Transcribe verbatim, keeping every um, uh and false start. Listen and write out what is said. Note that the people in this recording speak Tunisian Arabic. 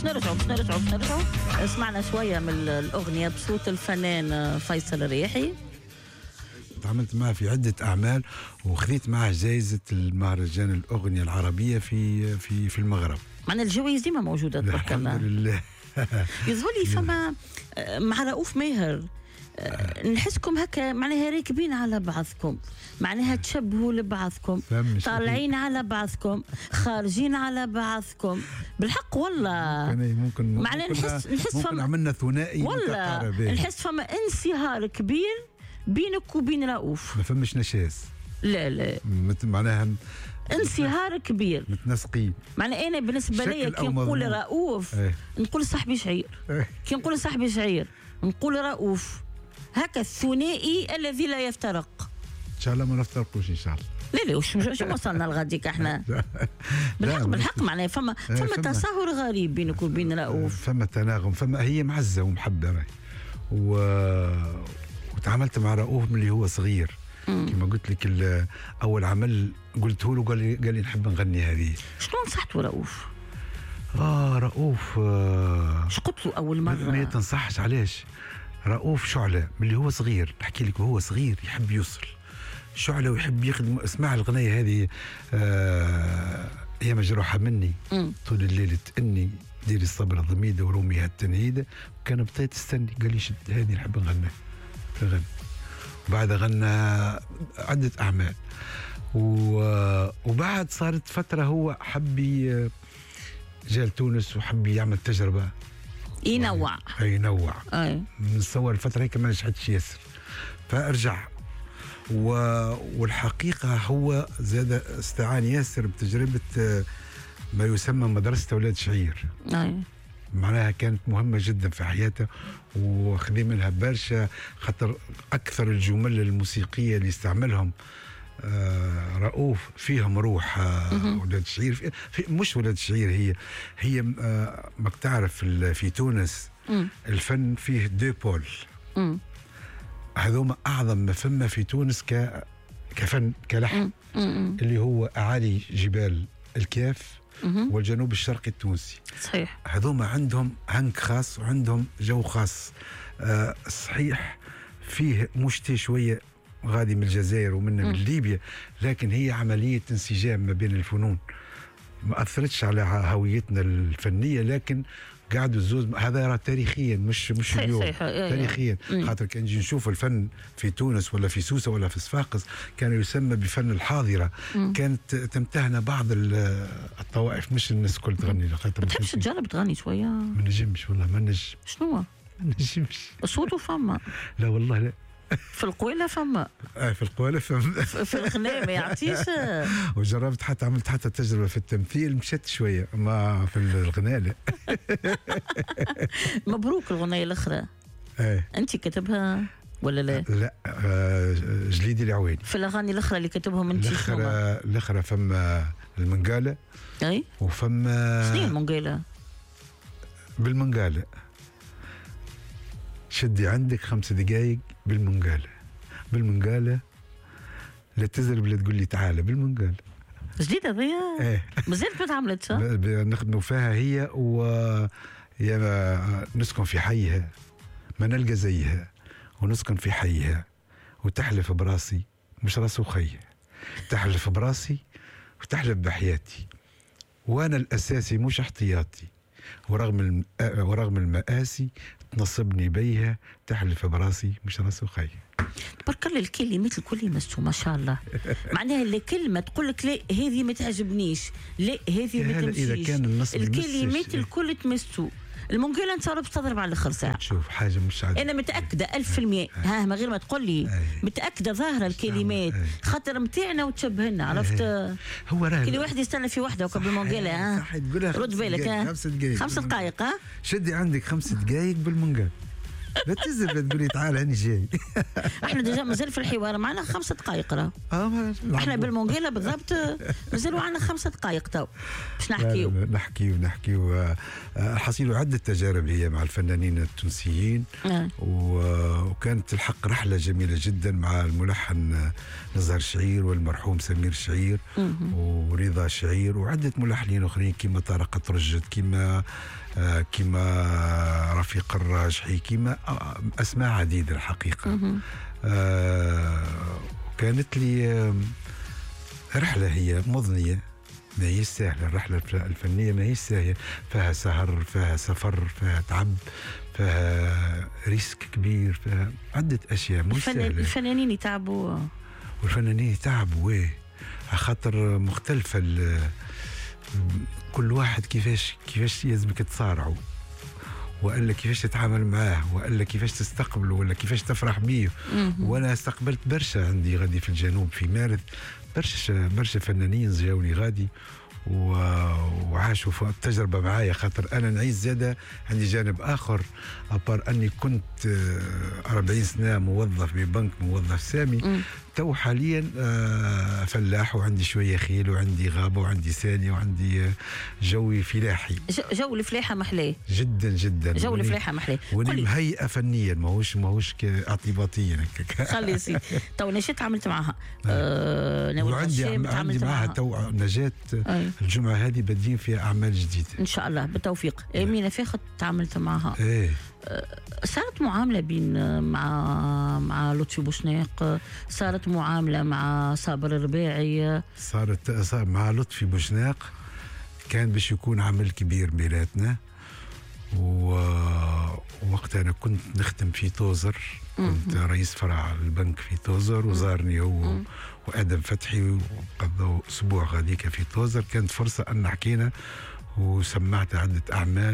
نرجعوا باش نرجعوا باش نرجعوا سمعنا شوية من الاغنية بصوت الفنان فيصل الرياحي. تعاملت معه في عده اعمال وخذيت معه جائزة المهرجان الاغنية العربية في في في المغرب. معنا الجوائز ديما موجودة تبارك الله. الحمد لله. يظهر لي فما مع رؤوف ماهر نحسكم هكا معناها راكبين على بعضكم، معناها تشبهوا لبعضكم، طالعين على بعضكم، خارجين على بعضكم، بالحق والله. ممكن معناها نحس نحس ممكن فما عملنا ثنائي والله، نحس فما انصهار كبير بينك وبين رؤوف. ما فماش نشاز. لا لا معناها انصهار كبير، متناسقين. معناها انا بالنسبة لي كي نقول رؤوف ايه. نقول صاحبي شعير، ايه. كي نقول صاحبي شعير نقول رؤوف، هكا الثنائي الذي لا يفترق. ان شاء الله ما نفترقوش ان شاء الله. لا لا وش شو وصلنا لغاديك احنا؟ بالحق بالحق معناها فما فما تصاهر غريب بينك وبين رؤوف. فما تناغم، فما هي معزة ومحبه راهي. و... وتعاملت مع رؤوف من اللي هو صغير. كما قلت لك اول عمل قلته له قال لي قال لي نحب نغني هذه. شنو نصحته رؤوف؟ اه رؤوف آه شو قلت له اول مرة؟ ما تنصحش علاش؟ رؤوف شعله من اللي هو صغير، نحكي لك وهو صغير يحب يوصل شعله ويحب يخدم. اسمع الغنية هذه آه يا مجروحة مني مم. طول الليل تأني ديري الصبر ضميده ورومي هالتنهيده، كان بطيت تستني قال لي شد هذه نحب نغنيها نغني. بعد غنى عدة أعمال وبعد صارت فترة هو حب جا لتونس وحب يعمل تجربة ينوع ينوع أي. نتصور الفترة هيك ما نجحتش ياسر فأرجع و... والحقيقة هو زاد استعان ياسر بتجربة ما يسمى مدرسة أولاد شعير. أي. معناها كانت مهمة جدا في حياته وخذي منها برشا، خاطر أكثر الجمل الموسيقية اللي استعملهم آه رؤوف فيهم روح آه ولاد شعير في في مش ولاد شعير، هي هي آه ما تعرف في تونس مم. الفن فيه deux pôles، هذوما أعظم ما فما في تونس ك كفن كلحن اللي هو أعالي جبال الكاف والجنوب الشرقي التونسي. صحيح. هذوما عندهم هنك خاص وعندهم جو خاص. آه صحيح فيه مشتي شوية غادي من الجزائر ومن من ليبيا، لكن هي عملية انسجام ما بين الفنون ما أثرتش على هويتنا الفنية، لكن قعدوا الزوز. هذا راه تاريخيا مش مش صحيح اليوم صحيح. تاريخيا خاطر كان نجي نشوف الفن في تونس ولا في سوسة ولا في صفاقس كان يسمى بفن الحاضرة. مم. كانت تمتهن بعض الطوائف مش الناس الكل تغني. ما تحبش تجرب تغني شوية؟ ما نجمش والله ما نجم. شنو؟ ما نجمش. صوته فما؟ لا والله لا. في القويلة فما؟ اه في القويلة فما. في الغناء ما يعطيش. وجربت حتى عملت حتى تجربة في التمثيل مشيت شوية، ما في الغناء لا. مبروك الغنية الأخرى. ايه. أنت كتبها ولا لا؟ لا آه جليدي العويني. في الأغاني الأخرى اللي كتبهم أنت الأخرى الأخرى فما المنقالة. أي. وفما شنو المنقالة؟ بالمنقالة. شدي عندك خمس دقايق بالمنقالة بالمنقالة لا تزرب لا تقول لي تعالى بالمنقالة. جديدة ذي؟ ايه مازالت ما تعملتش. نخدموا فيها هي و يا نسكن في حيها ما نلقى زيها ونسكن في حيها وتحلف براسي مش راسي وخيها، تحلف براسي وتحلف بحياتي وانا الاساسي مش احتياطي، ورغم الم... ورغم المآسي تنصبني بيها تحلف براسي مش راسي وخيها. تبارك الله الكلمات الكل مسو ما شاء الله. معناها الكلمة تقول لك لا هذه ما تعجبنيش، لا هذه ما تمشيش. إذا كان النص الكلمات الكل تمسو. المنقالة انت باش تضرب على الاخر ساعة. شوف حاجة مش عادية. أنا متأكدة ألف في المية، ها من غير ما تقول لي متأكدة ظاهرة الكلمات خاطر متاعنا وتشبهنا، عرفت؟ هو راه كل واحد يستنى في وحده وكا بالمنقالة. ها صح تقولها رد بالك. ها خمس دقايق خمس دقائق. ها شدي عندك خمس دقايق بالمنقالة لا تزرب تقولي تعال هاني جاي. احنا déjà مازال في الحوار معنا خمس دقائق راه. اه احنا بالمونجيلا بالضبط مازالوا عندنا خمس دقائق تو باش نحكيو. نحكيو نحكيو حصيلوا عدة تجارب هي مع الفنانين التونسيين. آه. وكانت الحق رحلة جميلة جدا مع الملحن نزهر شعير والمرحوم سمير شعير ورضا شعير وعدة ملحنين اخرين كيما طارق ترجد كيما آه، كما رفيق الراجحي، كما اسماء عديدة الحقيقة. آه كانت لي رحله هي مضنيه، ما هي سهلة الرحلة الفنية، ما هي سهلة، فيها سهر، فيها سفر، فيها تعب، فيها risque كبير، فيها عده اشياء مش سهلة. الفنانين يتعبوا، والفنانين يتعبوا ويه، خاطر مختلفة كل واحد كيفاش كيفاش لازمك تصارعوا، والا كيفاش تتعامل معاه، والا كيفاش تستقبله، ولا كيفاش تفرح بيه. وانا استقبلت برشا عندي غادي في الجنوب في مارث، برشا برشا فنانين جاوني غادي وعاشوا التجربة معايا، خاطر انا نعيش زاده عندي جانب اخر à part اني كنت أربعين سنة موظف ببنك، موظف سامي. تو حاليا فلاح، وعندي شوية خيل، وعندي غابه، وعندي سانيه، وعندي جوي فلاحي. جو الفلاحة محلاه جدا جدا، جو الفلاحة محلاه، وني مهيئة فنيا، ماهوش ماهوش اعتباطيا. خلي سيدي تو نجاة عملت معها آه وعندي عندي معها تو نجاة الجمعة هذه بادين فيها اعمال جديدة ان شاء الله بالتوفيق. امينه فاخت تعاملت معها. ايه صارت معاملة بين مع مع لطفي بوشناق، صارت معاملة مع صابر الرباعي، صارت صار مع لطفي بوشناق كان باش يكون عمل كبير بيناتنا، ووقتها انا كنت نخدم في توزر، كنت رئيس فرع البنك في توزر، وزارني هو وادم فتحي وقضوا اسبوع غاديك في توزر. كانت فرصة ان حكينا وسمعت عده اعمال.